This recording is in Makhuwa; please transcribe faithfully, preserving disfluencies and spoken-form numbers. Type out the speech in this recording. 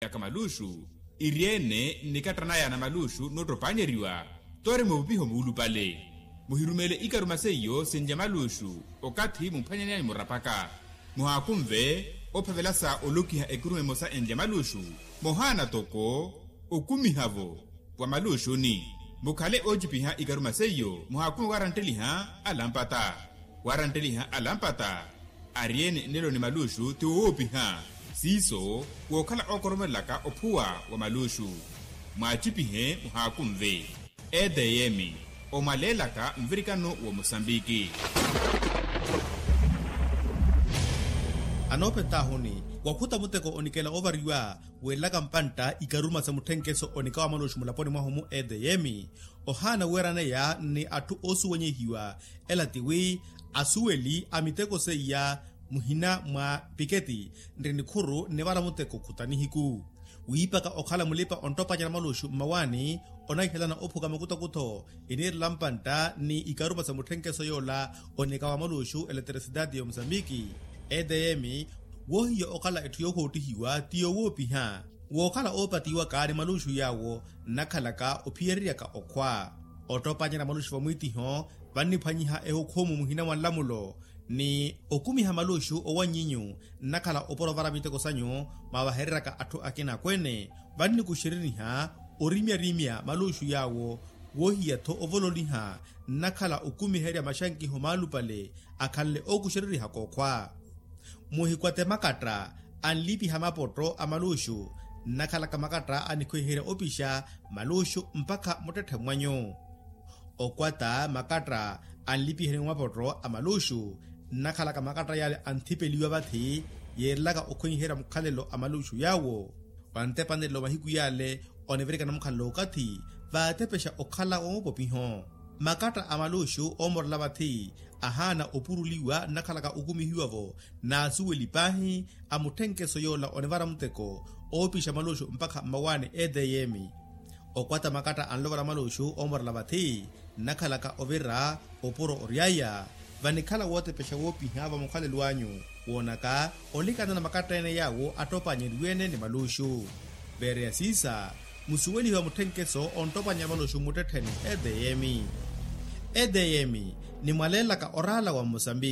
Yaka maluxu iri-ene nnikattanaya na maluxu noottopaanyeriwa. Toori muvupiho muulupale muhirumele ikaruma seiyo sinlya maluxu okathi mumphanyaneyani murapaka. Muhaakunve ophavela sa olokiha ekirume emosa enlya maluxu mohaana toko okumiha-vo wa maluxuni. Mukhale oocipiha ikaruma seiyo muhaakunve waarantteliha alampata. Waarantteliha alampata ari-ene nnelo ni maluxu ti wowoopiha siiso wookhala ookoromelelaka ophuwa wa maluxu. Mwaacipihe muhaakunve. Edm omwaleelaka nvirikano wa musambiki. Anoopetahuni wakhuta muteko onikela ovariwa weelaka mpantta ikaruma sa mutthenkeso onikawa maluxu mulaponi mwahu mu edm. Ohaana weeraneya ni atthu oosuwenyehiwa ela tiwi asuweli a miteko seiya muhina mwa piketi nri nikhuru nnivara muteko khuta nihiku. Wiipaka okhala mulipa onttopanyana maluxu mmawaani onahihelana ophuka makutakutho iniirela mpantta ni ikaruma sa mutthenkeso yoola onikawa maluxu eletrisidadi ya omusambiki. Edm woohiya okhala etthu yoohoottihiwa ti yoowoopiha wookhala oopatiwaka ni maluxu yaawo nnakhalaka ophiyeryeryaka okhwa. Ottopanyana maluxu vamwiitiho vanniphwanyiha ehukhumu muhina mwa nlamulo ni okumiha maluxu owanyinyu nnakhala opora ovara miteko sanyu mwaavahereryaka atthu akina akweene. Vannikuxeriniha orimyarimya maluxu yaawo woohiya-tho ovololiha nnakhala okumiherya maxankiho maalupale akhanle ookuxererihaka okhwa. Muhikwate makatta anlipiha mapotto a maluxu nnakhalaka makatta anikhwiherya opixa maluxu mpakha muttetthe mwanyu. Okwata makatta anlipiheni mapotto a maluxu nnakhalaka makatta yale anthipeliwa vathi yeerelaka okhwenyiherya mukhalelo a maluxu yaawo. Vantepanelo mahiku yale onivirikana mukhalelo okathi vaatepexa okhala wa mapopiho. Makatta a maluxu oomorela vathi ahaana opuruliwa nnakhalaka okumihiwa-vo n'asuweli paahi a mutthenkeso yoola onivara muteko oopixa maluxu mpakha mmawaani edm. Okwata makatta anlovara maluxu oomorela vathi nnakhalaka ovira opuro oryaya vanikhala wootepexa woopiha va mukhalelo anyu woonaka olikana na makatta ene yaawo attopaanyeriwe-ene ni maluxu. Veereya siisa musuwelihiwa mutthenkeso onttopaanyerya maluxu mmuttettheni edm. Edm nimwaleelaka oraala wa mmosambiki.